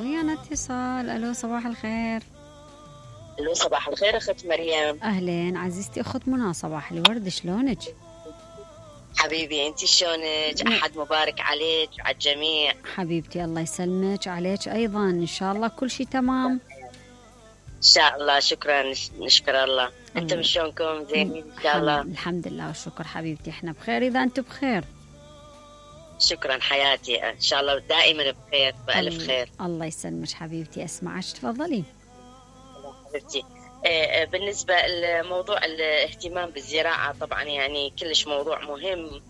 ويانا اتصال. الو صباح الخير. الو صباح الخير اخت مريم. اهلين عزيزتي اخت منى، صباح الورد، شلونك؟ حبيبي انت شلونك؟ احد مبارك عليك وعلى الجميع. حبيبتي الله يسلمك، عليك ايضا، ان شاء الله كل شيء تمام ان شاء الله. شكرا، نشكر الله. انتم شلونكم؟ زينين ان شاء الله؟ الحمد لله والشكر حبيبتي، احنا بخير اذا انتم بخير. شكرا حياتي، ان شاء الله دائما بخير والف خير. الله يسلمك حبيبتي، اسمعك تفضلي. حبيبتي، بالنسبه لموضوع الاهتمام بالزراعه، طبعا يعني كلش موضوع مهم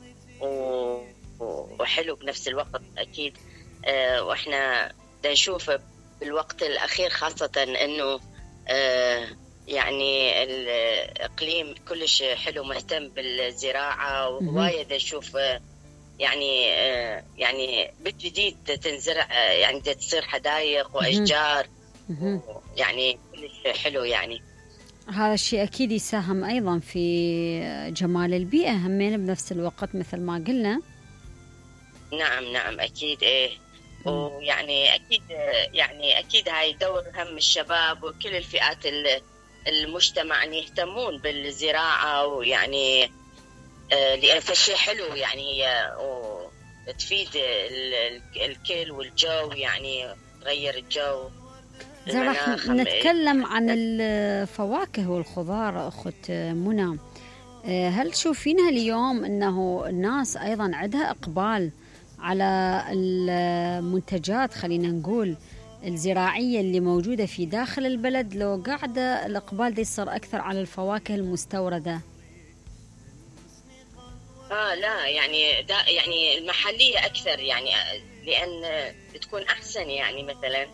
وحلو بنفس الوقت اكيد. واحنا نشوف بالوقت الاخير خاصه انه يعني الاقليم كلش حلو مهتم بالزراعه، ووايد نشوف يعني بالجديد تنزرع، يعني تصير حدائق واشجار، يعني كلش حلو. يعني هذا الشيء اكيد يساهم ايضا في جمال البيئه همين بنفس الوقت مثل ما قلنا. نعم اكيد. ايه ويعني اكيد، يعني اكيد هاي دور هم الشباب وكل الفئات المجتمع ان يهتمون بالزراعه، ويعني لان فشي حلو يعني وتفيد الكل والجو، يعني تغير الجو. راح نتكلم عن الفواكه والخضار اخت منى. هل تشوفينها اليوم انه الناس ايضا عندها اقبال على المنتجات، خلينا نقول الزراعية اللي موجودة في داخل البلد، لو قاعدة الإقبال دي يصير أكثر على الفواكه المستوردة؟ لا يعني يعني المحلية أكثر، يعني لأن بتكون أحسن، يعني مثلا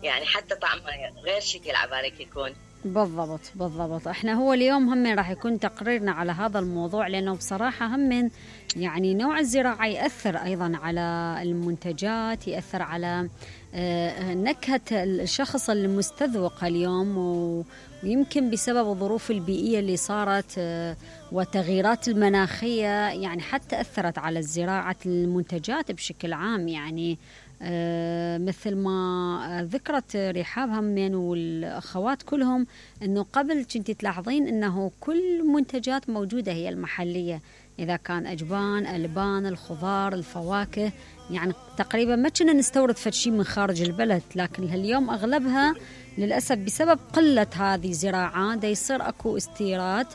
يعني حتى طعمها غير شكل عبارك يكون. بالضبط. احنا هو اليوم هم راح يكون تقريرنا على هذا الموضوع، لأنه بصراحة هم يعني نوع الزراعة يأثر أيضا على المنتجات، يأثر على نكهة الشخص المستذوق اليوم، ويمكن بسبب الظروف البيئية اللي صارت وتغييرات المناخية يعني حتى أثرت على زراعة المنتجات بشكل عام. يعني مثل ما ذكرت رحاب همين والأخوات كلهم أنه قبل كنت تلاحظين أنه كل منتجات موجودة هي المحلية، إذا كان أجبان، ألبان، الخضار، الفواكه، يعني تقريبا ما كنا نستورد فشي من خارج البلد. لكن اليوم أغلبها للأسف بسبب قلة هذه الزراعات دا يصير أكو استيراد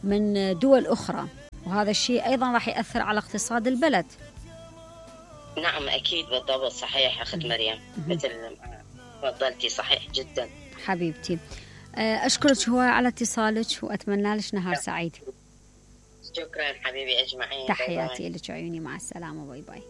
من دول أخرى، وهذا الشيء أيضا راح يأثر على اقتصاد البلد. نعم أكيد بالضبط، صحيح أخت مريم، مثل ما تفضلتي، صحيح جدا حبيبتي. أشكرك هواي على اتصالك وأتمنى لك نهار سعيد. شكرا حبيبي أجمعين، تحياتي لك عيوني، مع السلامة، باي باي.